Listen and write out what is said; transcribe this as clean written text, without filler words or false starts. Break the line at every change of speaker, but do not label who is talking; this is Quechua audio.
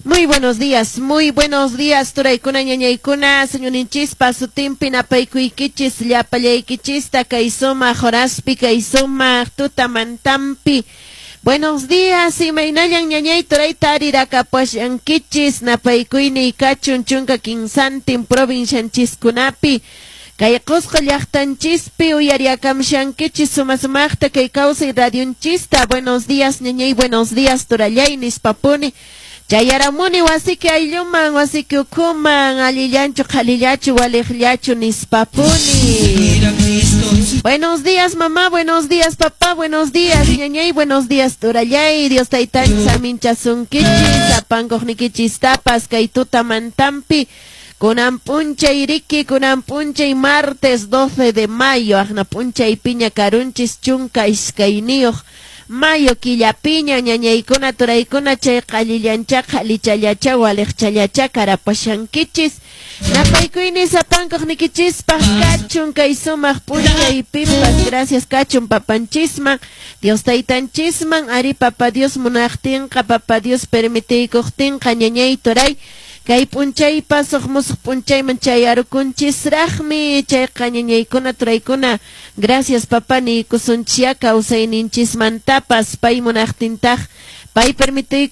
Muy buenos días, turaykuna, ñañaykuna, señorinchispa sutinpi napaykuykichis, llapallaykichista, kay sumaq horaspi, kay sumaq tutamantampi. Buenos días, imaynallan ñañay turayta arirakapuashankichis, napaykuyniy kachun 13 provincianchiskunapi. Kay Qusqu llaqtanchispi uyariakamshankichis sumasumaqta kay kawsay radionchista. Buenos días, ñañay, buenos días, turallay, nispapuni. Chayaramuni wasiki aylluman, wasiki ukhuman, allillanchu, qhalillachu, waliqllachu, nispapuni. Buenos días, mamá, buenos días, papá, buenos días, ñañay, buenos días, turallay, Dios taytanchis aminchasunkichis, apankuqnikichis tapas, kay tutamantampi. Kunan p'unchay riki, kunan p'unchay martes 12 de mayo, aqna p'unchay piña karunchis 12 mayo killapiña, ñañaykuna, turaykuna, chay qallillancha, qhalichallacha, waliqchallacha, karapashankichis. Napaykuyni sapankuqnikichispaq kachun kay sumaq p'unchaypipas, gracias kachun papanchisman, Dios taytanchisman, ari papa Dios munaqtinqa, papa Dios permitiykuqtinqa, ñañay turay. Kay p'unchaypas huk musuq p'unchayman chayarukunchisraqmi, chayqa ñañaykuna, turaykuna, gracias papa niykusunchya kawsayninchismantapas, pay munaqtintaq, pay permitiykuqtinqa.